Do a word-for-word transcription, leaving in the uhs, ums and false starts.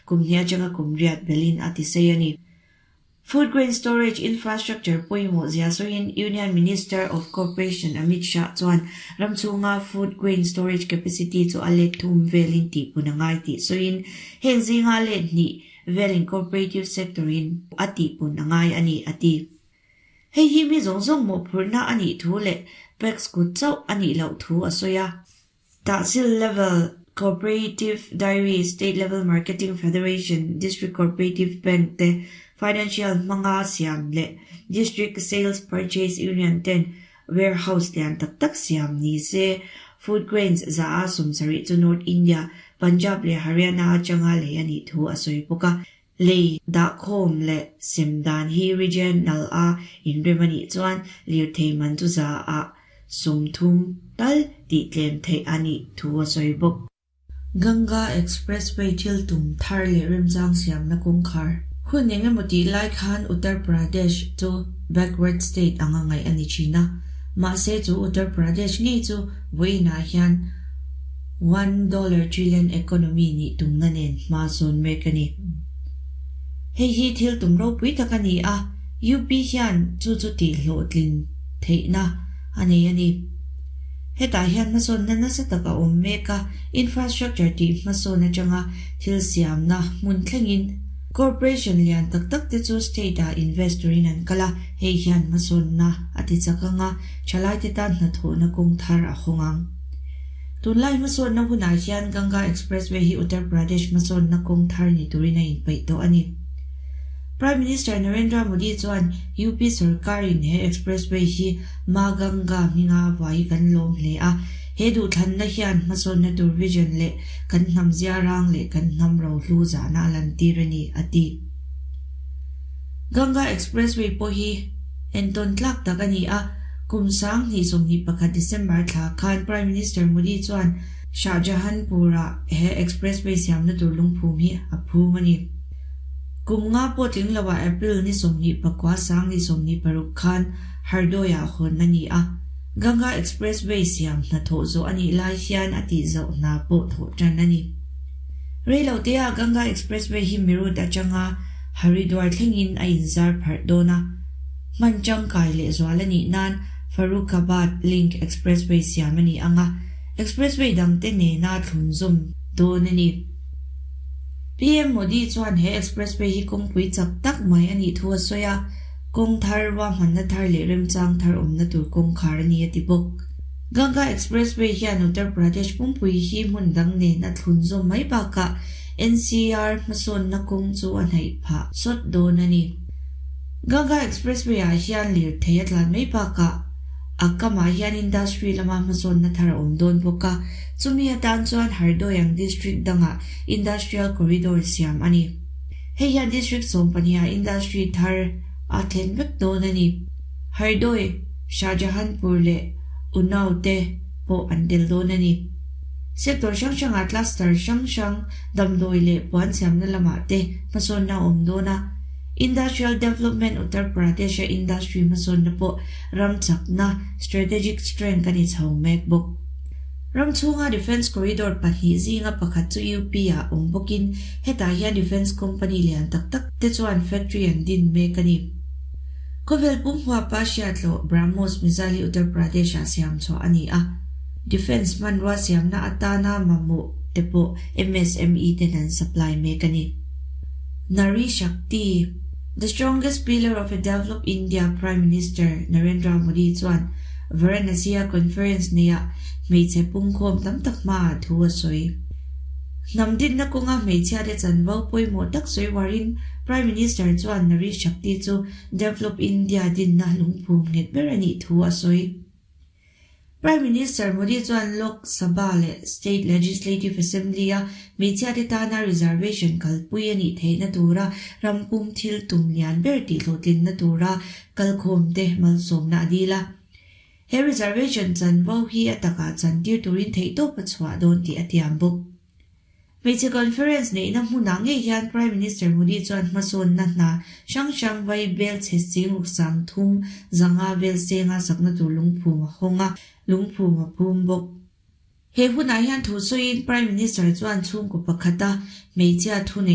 kum hnih atanga kum riat belin a ti sei ani. Food grain storage infrastructure pawimawh zia sawiin Union Minister of Cooperation Amit Shah chuan ramchhunga food grain storage capacity chu a let thum velin tih pun angai tih sawiin heng zinga let hnih velin cooperative sector in a tih pun angai ani a ti. Hei hi mi zawng zawng mawhphurhna anih thu leh PACS kut chauh anih loh thu a sawi a. Tehsil level cooperative dairy, state level marketing federation, district cooperative bank te financial hmanga siam leh district sales purchase union ten warehouse lian tak tak siam ni se. Food grains za a sawmsarih chu North India, Punjab leh Haryana atanga lei anih thu a sawi bawk a. Lei dah khawm leh sem dan hi regional a inrem anih chuan lirthei man chu za a sawmthum tal tih tlem theih anih thu a sawi bawk. Ganga Expressway thil tum thar leh remchang siamna kawngkhar. Hun engemaw tih lai khan Uttar Pradesh chu backward state anga ngaih ani thin a. Mahse chu Uttar Pradesh ngei chu vawiinah hian one dollar trillion economy nih tumna nen hma sawn mek a ni. Hei hi thil tum ropui tak a ni a, U P hian chu chu tih hlawhtlin theihna a nei a ni. Hetah hian hmasawnna nasa tak a awm mek a, infrastructure tih hmasawn atanga thil siamna hmun thlengin. Corporation lian tak tak te chu state ah invest turin an kal a, hei hian hmasawnna a ti chak anga, thalai te tan hnathawhna kawng thar a hawng ang. Tunlai hmasawnna hunah hian Ganga Expressway hi Uttar Pradesh hmasawnna kawng thar ni turin a inpeih tawh a ni. Prime Minister Narendra Modi chuan U P sarkarin he expressway hi Ma Ganga hminga vai kan lawm hle a, he duhthlanna hian hmasawnna tur vision leh kan hnam ziarang leh kan hnam rohlu zahna a lantir a ni a ti. Ganga Expressway pawh hi entawn tlak tak a ni a, kum sang hnih sawmhnih pakhat December thla khan Prime Minister Modi chuan Shahjahanpur-ah he expressway siamna tur lungphum hi a phum a ni. Kum nga pawh tling loah April ni sawmhnih pakua sang hnih sawmhnih paruk khan Hardoi-ah hawn a ni a. Ganga Expressway siam hnathawh zawh a nih lai hian a tih zauh hna pawh thawh tan a ni. Reilote-ah Ganga Expressway hi Meerut atanga Haridwar thlengin a inzar pharh dawn a. Hman tangkai leh zual a nih nan Farrukhabad Link Expressway siam a ni ang a, expressway dangte nena thlun zawm dawn a ni. P M Modi chuan he expressway hi kawngpui chak tak mai a nih thu a sawi a, kawng thar ruahmanna thar leh remchang thar awmna tur kawngkhar a ni a ti bawk. Ganga Expressway hian Uttar Pradesh pumpui hi hmun dang nen a thlun zawm mai bakah N C R hmasawnna kawng chu a hnaih phah sawt dawn a ni. Ganga Expressway ah hian lirthei a tlan mai bakah a kamah hian industry lama hmasawnna thar a awm dawn bawk a, chumi atan chuan Hardoi ang district dangah industrial corridor siam a ni. Hei hian district sawm pahniha industry thar a thlen vek dawn a ni. Hardoi, Shahjahanpur leh Unnao te pawh an tel dawn a ni. Sector hrang hrangah cluster hrang hrang damdawi leh puan siamna lamah te hmasawnna a awm dawn a. Industrial Development Uttar Pradesh-a industry hmasawnna pawh ram chakna strategic strength a ni chho mek bawk. Ram chhunga defence corridor pahnih zinga pakhat chu U P ah awm bawkin hetah hian defence company lian tak tak te chuan factory an din mek a ni. Khawvel pum huapa hriatloh BrahMos missile hi Uttar Pradesh-ah siam chhuah a ni a. Defence hmanrua siamna atana mamawh te pawh M S M E ten an supply mek a ni. Nari Shakti, the strongest pillar of a developed India. Prime Minister Narendra Modi chuan Varanasi-a conference neihah hmeichhe pungkhawm tam tak hmaah thu a sawi. Hnam dinna kawnga hmeichhia te chanvo pawimawh tak sawi warin Prime Minister chuan Nari Shakti chu develop India dinna lungphum nghet ber a nih thu a sawi. Prime Minister Modi chuan Lok Sabha leh State Legislative Assembly-a hmeichhia te tana reservation kalpui a nih theihna tura rampum thil tum lian ber tih hlawhtlinna tura kalkhawm te malsawmna a dil a. He reservation chanvo hi a takah chantir turin theihtawp a chhuah dawn tih a tiam bawk. Hmeichhe conference neihna hmunah ngei hian Prime Minister Modi chuan hmasawnna hna hrang hrang vai bel chhe ching ruk sang thum zanga vel senga sakna tur lungphum a hawng a, lungphum a phum bawk. He hunah hian thu sawiin Prime Minister chuan chhungkaw pakhata hmeichhia thu nei